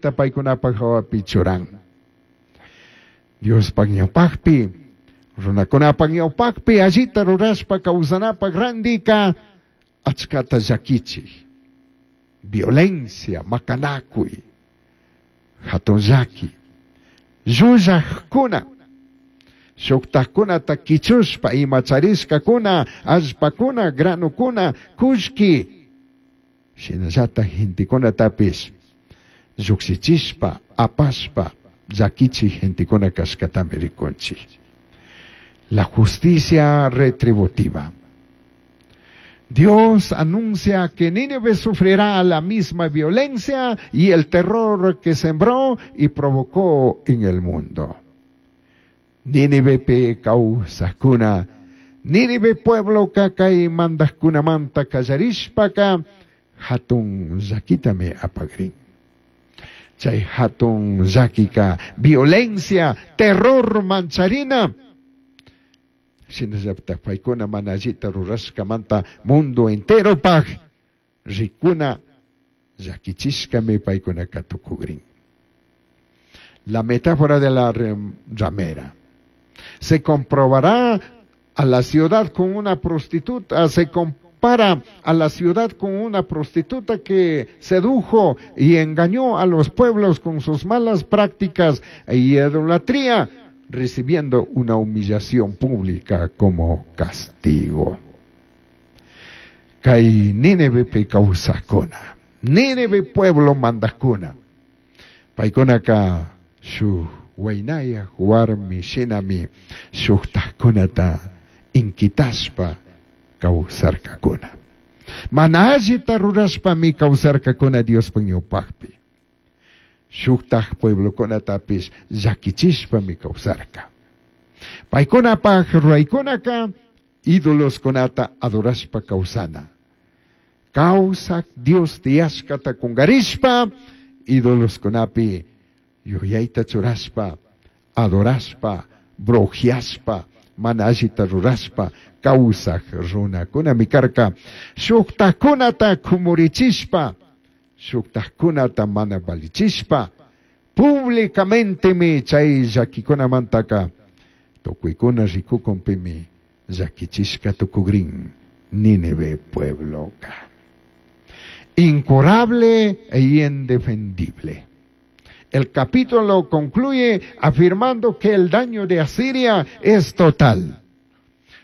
llaquita paicunapaj jahuapi churan. Diospaj ñaupajpi, runacunapaj ñaupajpi allita rurashpa causanapaj randica achcata llaquichij, violencia, macanacui, jatun llaqui, llullajcuna, shujtajcunata quichushpa ima charishcacuna, allpacuna, granocuna, cullqui, shinallataj gentecunatapish llujshichishpa, apashpa llaquichij gentecuna cashcatami ricunchij. La justicia retributiva. Dios anuncia que Nínive sufrirá la misma violencia y el terror que sembró y provocó en el mundo. Nínivepi causajcuna, Nínive puebloca cai mandajcunamanta callarishpaca jatun llaquitami apagrin. Chai jatun llaquica violencia, terror mancharina. Shinallataj paicuna mana allita rurashcamanta mundo enteropaj ricuna llaquichishcami paicunaca tucugrin. La metáfora de la ramera. Se comprobará a la ciudad con una prostituta, se compara a la ciudad con una prostituta que sedujo y engañó a los pueblos con sus malas prácticas e idolatría, recibiendo una humillación pública como castigo. Cai Nínivepi causajcuna, Nínive pueblo mandajcuna, paicunaca shuj huainayaj huarmi shinami shujtajcunata inquitashpa causarcacuna. Mana allita rurashpami causarcacuna Diospaj ñaupajpi. Shujtaj pueblocunatapish llaquichishpami causarca. Paicunapaj ruraicunaca idoloscunata adorashpa causana. Causaj Dios tiyashcata cungarishpa idoloscunapi yuyaita churashpa, adorashpa, brujiashpa, mana allita rurashpa causaj runacunami carca. Shujtajcunata cumurichishpa, shujtajcunata mana valichishpa, públicamentemi chay llaquicunamantaca tucuicuna ricucunpimi llaquichishca tucugrin Nínive puebloca. Incurable e indefendible. El capítulo concluye afirmando que el daño de Asiria es total.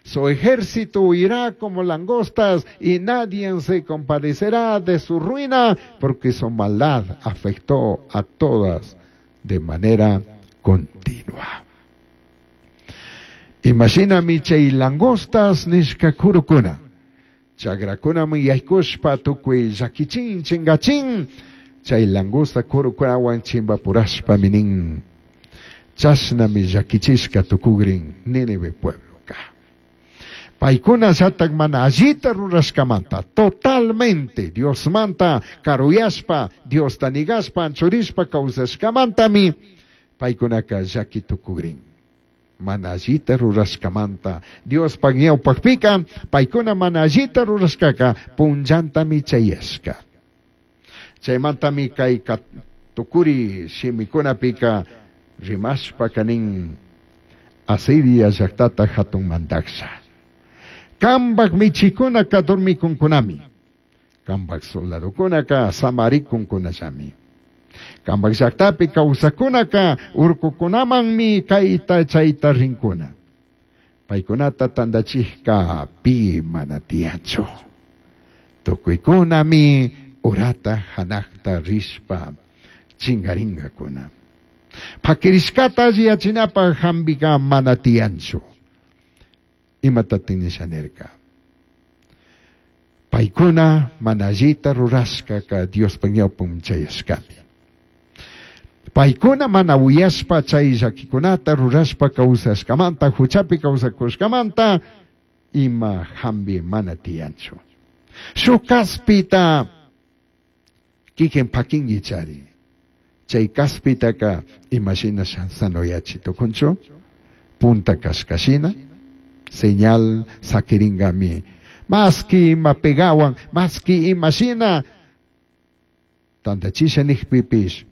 Su ejército huirá como langostas y nadie se compadecerá de su ruina, porque su maldad afectó a todas de manera continua. Imagina chay langostas nishca kurucuna. Chagrakunami yaykushpa tukuy llakichin chingachin. Chay langosta kurukunawan chimbapurashpami nin. Chashnami llakichishka tukugrin Nínive puebloka. Paicuna llatak mana allita rurashkamanta, totalmente Diosmanta karuyashpa, Diosta nigashpa, anchurishpa kawsashkamantami, paikunaka llaki tukugrin. Mana allita rurashkamanta, Diospaj ñawpakpika, paicuna mana allita rurashkaka, punllantami chayashka. Chaymantami kay tukuri shimikunapika rimashpaka nin Asiria llaktata hatun mandajsha. Kambaj michikunaka dormikunkunami. Kambaj soldadokunaka samarikunkunallami. Kambaj llaktapi kawsajkunaka urkukunamanmi kayta chayta rinkuna. Paykunata tandachijka pi mana tiyanchu. Tukuykunami urata hanakta rishpa chingaringakuna. Pakirishkata alliyachinapaj hambika mana tiyanchu. Imatatik nisha nirka? Paicuna mana allita rurashkaka Diospaj ñawpun chayashkami. Paicuna mana uyashpa chay llaquikunata rurashpa kawsashkamanta, huchapi kawsakushkamanta, ima hambi mana tiyanchu. Shuk kaspita kikin pakinki chari. Chay kaspitaka imashina sanoyachi tukunchu, punta kashkashina, señal sakiringami. Maski ima pegawan, maski imashina, tantachisha nijpipish,